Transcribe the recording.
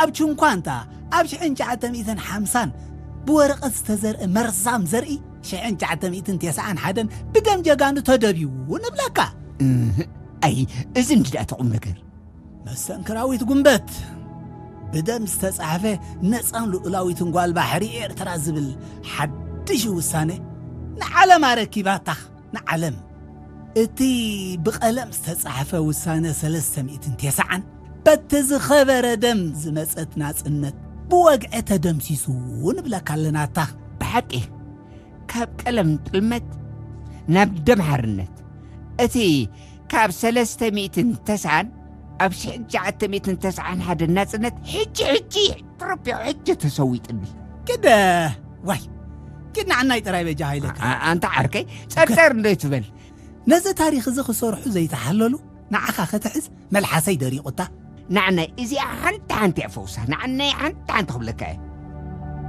ኣብ ቹንኳንታ ኣብ ሽሕን ትሽዓተ ሚእትን ሓምሳን ብወረቐት ዝተዘርአ መርዛም ዘርኢ ሽሕን ትሽዓተ ሚእትን ተስዓን ሓደን ብደም ጀጋኑ ተደብዩ ንብለካ። ኣይ፣ እዚ እንዲ ደኣ ተቑም ነገር። መስተንክራዊት ጉንበት ብደም ዝተጻሕፈ ነጻን ልኡላዊትን ጓል ባሕሪ ኤርትራ ዝብል ሓድሽ ውሳነ ንዓለም ኣረኪባታ። ንዓለም እቲ ብቐለም ዝተጻሕፈ ውሳነ ሰለስተ ሚእትን ተስዓን በቲ ዝኸበረ ደም ዝመጸት ናጽነት ብወግዒ ተደምሲሱ ንብለካ ኣለናታ። ብሓቂ ካብ ቀለም ጥልመት ናብ ደም ሓርነት፣ እቲ ካብ ሰለስተ ሚእትን ተስዓን ኣብ ሽሕን ትሽዓተ ሚእትን ተስዓን ሓደ ናጽነት ሕጂ ሕጂ ተረቢዑ ሕጂ ተሰዊጥኒ። ግደ ዋይ ግድ ንዓናይ ጥራይ በጃ ሃይለካ። ኣንታ ዓርከይ ጸርጸር እንዶ ትበል። ነዚ ታሪኽ እዚ ክሰርሑ ዘይተሓለሉ ንዓኻ ክትሕዝ መልሓሰይ ደሪቑታ። ንዓናይ እዚኣ ሓንቲ ሓንቲ እያ ፈውሳ። ንዓናይ ሓንቲ ሓንቲ ክብለካ እየ።